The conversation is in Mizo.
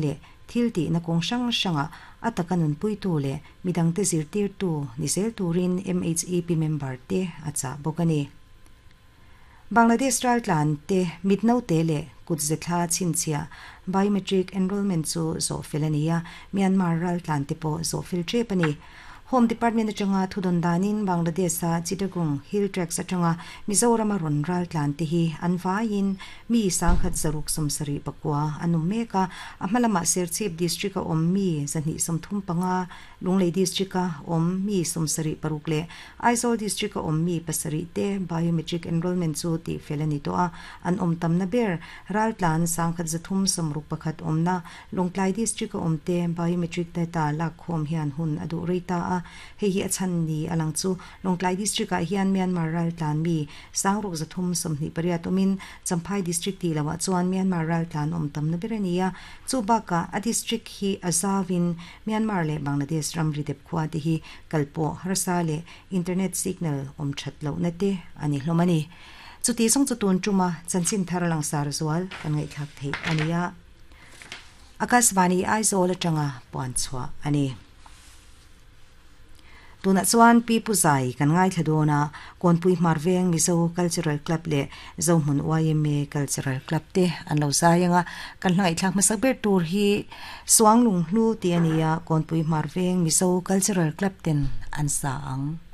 Leh thil tihna kawng hrang hrangah a taka nunpuitu leh midangte zirtirtu ni zel turin MHEP member te a chah bawk a ni. Bangladesh raltlan te mitnote leh kutze thla chhinchhiah biometric enrolment chu zawh fel a ni a, Myanmar raltlan te pawh zawh fel tep a ni. Home Department atanga thudawn danin Bangladesh-a Chittagong Hill Tracts atanga Mizorama rawn raltlan te hi an vaiin mi 1779 an awm mek a, a hma lamah Serchhip District-a awm mi 235, Lunglei District-a awm mi 76 leh Aizawl District-a awm mi pasarih te biometric enrolment chu tihfel a ni tawh a, an awm tamna ber raltlan 1361 awmna Lawngtlai District a awmte biometric data lakkhawm hian hun a duh rei ta a, hei hi a chhan ni a lang chu Lawngtlai District ah hian Myanmar raltlan mi 6328 awmin Champhai District tih loah chuan Myanmar raltlan awm tamna ber a ni a, chu bakah a district hi a zauin Myanmar leh Bangladesh ramri dep khua te hi kalpawh harsa leh internet signal awm that lohna te a ni hlawm a ni. Chuti zawng chu tun tuma chanchin thar langsar zual kan ngaihthlak theih a ni a. Akashvani Aizawl atanga puan chhuah a ni. Tunah chuan Pi Pu Zai kan ngaithla dawn a, Kawnpui Hmarveng Mizo Cultural Club leh Zohmun yma Cultural Club te an lo zai ang a, kan hla ngaihthlak hmasak ber tur hi Suanglung Hlu tih a ni a, Kawnpui Hmarveng Mizo Cultural Club ten an sa ang.